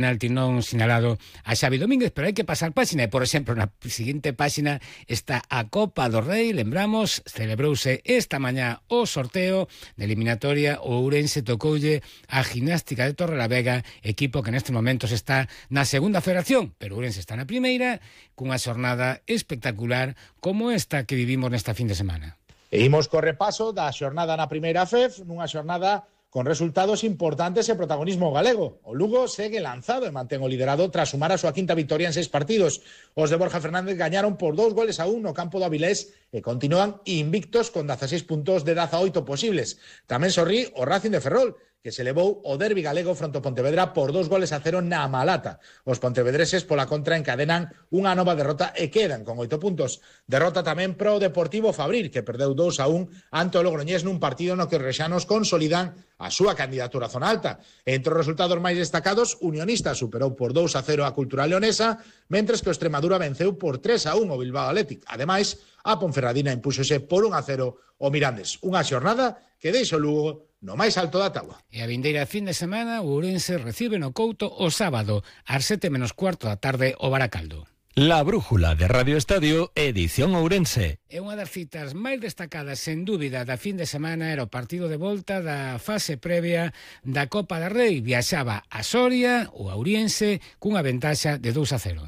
penalti non sinalado a Xavi Domínguez, pero hai que pasar páxina e, por exemplo, na seguinte páxina está a Copa do Rei. Lembramos, celebrouse esta mañá o sorteo de eliminatoria. O Ourense tocoulle a Gimnástica de Torrelavega, equipo que nestes momentos está na segunda federación, pero Ourense está na primeira, cunha xornada espectacular como esta que vivimos nesta fin de semana. E imos co repaso da xornada na primeira FEF, nunha xornada con resultados importantes e protagonismo galego. O Lugo segue lanzado e mantén o liderado tras sumar a súa quinta victoria en 6 partidos. Os de Borja Fernández gañaron por 2-1 no campo do Avilés e continúan invictos con 16 puntos de 18 posibles. Tamén sorrí o Racing de Ferrol, que se levou o derbi galego fronte ao Pontevedra por 2-0 na Malata. Os pontevedreses, pola contra, encadenan unha nova derrota e quedan con 8 puntos. Derrota tamén pro Deportivo Fabril, que perdeu 2-1 ante o Logroñés nun partido no que os rexanos consolidan a súa candidatura a zona alta. Entre os resultados máis destacados, Unionista superou por 2-0 a Cultural Leonesa, mentres que o Extremadura venceu por 3-1 o Bilbao Athletic. Ademais, a Ponferradina impúxose por 1-0 o Mirandes. Unha xornada que deixa o Lugo no máis alto da táboa. E a vindeira fin de semana, o Ourense recibe no Couto o sábado ás 7:15 da tarde o Baracaldo. La Brújula de Radio Estadio, edición Ourense. E unha das citas máis destacadas, sen dúbida, da fin de semana era o partido de volta da fase previa da Copa da Rei. Viaxaba a Soria, o Ouriense, cunha ventaxa de 2-0.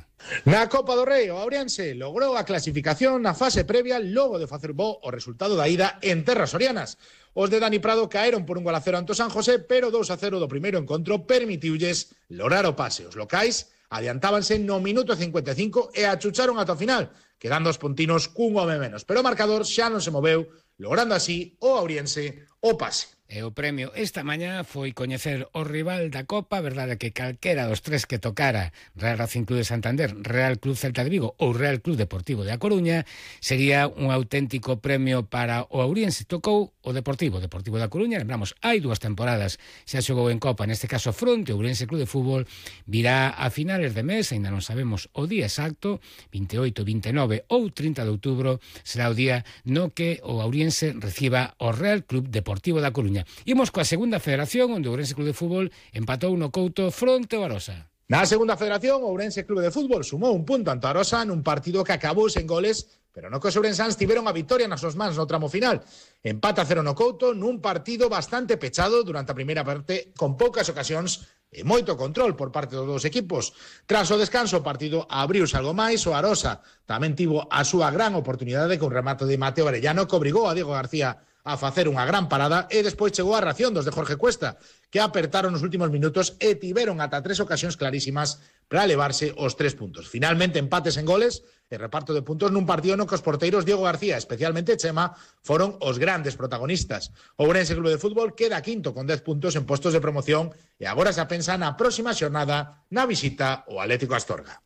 Na Copa do Rei, o Ourense logrou a clasificación na fase previa logo de facer bo o resultado da ida en terras sorianas. Os de Dani Prado caeron por 1-0 ante o San José, pero 2-0 do primeiro encontro permitiulles lograr o pase. Os locais adiantábanse no minuto 55 e achucharon ata o final, quedando os pontinos cun home menos. Pero o marcador xa non se moveu, logrando así o Ouriense o pase. E o premio esta mañá foi coñecer o rival da Copa. Verdade que calquera dos tres que tocara, Real Racing Club de Santander, Real Club Celta de Vigo ou Real Club Deportivo de A Coruña, sería un auténtico premio para o Ouriense. Tocou o Deportivo da Coruña. Lembramos, hai 2 temporadas xa xogou en Copa, neste caso fronte ao Ourense Club de Fútbol. Virá a finales de mes, ainda non sabemos o día exacto, 28, 29 ou 30 de outubro, será o día no que o Ouriense reciba o Real Club Deportivo da Coruña. Imos coa segunda federación, onde o Ourense Club de Fútbol empatou no Couto fronte ao Arosa. Na segunda federación, o Ourense Club de Fútbol sumou un punto ante o Arosa nun partido que acabou sen goles, pero no que os ourensáns tiveron a victoria nas súas mans no tramo final. Empate a 0 no Couto nun partido bastante pechado durante a primeira parte, con poucas ocasións e moito control por parte dos dous equipos. Tras o descanso, o partido abriuse algo máis. O Arosa tamén tivo a súa gran oportunidade con remate de Mateo Arellano, que obrigou a Diego García a facer unha gran parada, e despois chegou a ración dos de Jorge Cuesta, que apertaron nos últimos minutos e tiveron ata 3 ocasións clarísimas para levarse os 3 puntos. Finalmente, empates en goles e reparto de puntos nun partido no que os porteiros Diego García, especialmente Chema, foron os grandes protagonistas. O Ourense Club de Fútbol queda quinto con 10 puntos en postos de promoción e agora se pensa na próxima xornada na visita ao Atlético Astorga.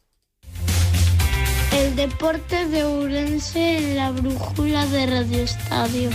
El deporte de Ourense en la brújula de Radio Estadio.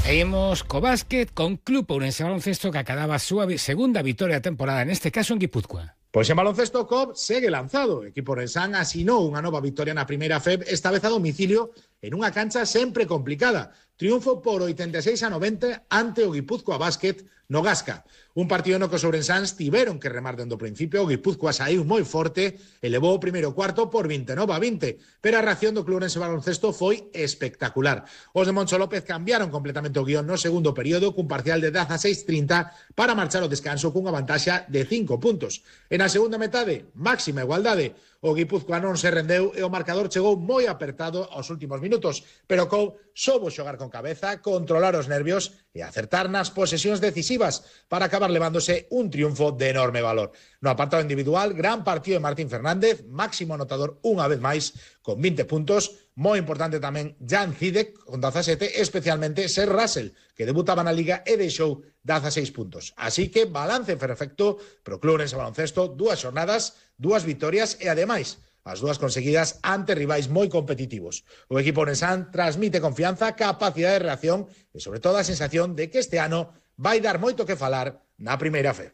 E imos co básquet con Club Ourense Baloncesto, que acababa a súa segunda vitoria da temporada, neste caso en Guipúzcoa. Pois en baloncesto, COP segue lanzado. O equipo ourensán asinou unha nova vitoria na primeira FEB, esta vez a domicilio, en unha cancha sempre complicada. Triunfo por 86-90 ante o Guipúzcoa Básquet no Gasca. Un partido no que os ourensáns tiveron que remar dende o principio. O Guipúzcoa saiu moi forte, elevou o primeiro cuarto por 29-20, pero a reacción do Club Ourense Baloncesto foi espectacular. Os de Moncho López cambiaron completamente o guión no segundo período, cun parcial de 16-30 para marchar ao descanso cunha vantaxa de 5 puntos. En a segunda metade, máxima igualdade. O Guipúzcoa non se rendeu e o marcador chegou moi apertado aos últimos minutos, pero Cou soubo xogar con cabeza, controlar os nervios e acertar nas posesións decisivas para acabar levándose un triunfo de enorme valor. No apartado individual, gran partido de Martín Fernández, máximo anotador unha vez máis, con 20 puntos. Moi importante tamén Jan Zidek, con 17, especialmente Ser Russell, que debutaba na Liga e deixou 16 puntos. Así que balance perfecto pro Club Ourense Baloncesto, 2 xornadas, 2 vitorias e ademais as 2 conseguidas ante rivais moi competitivos. O equipo ourensán transmite confianza, capacidade de reacción e sobre todo a sensación de que este ano vai dar moito que falar na primeira FEB.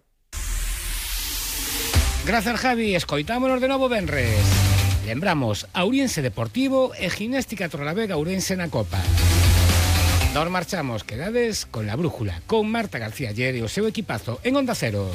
Grazas, Javi. Escoitámonos de novo venres. Lembramos, Ouriense Deportivo e Gimnástica Torrelavega Ourense na Copa. Nos marchamos, quedades con La Brújula, con Marta García Ayer e o seu equipazo en Onda Cero.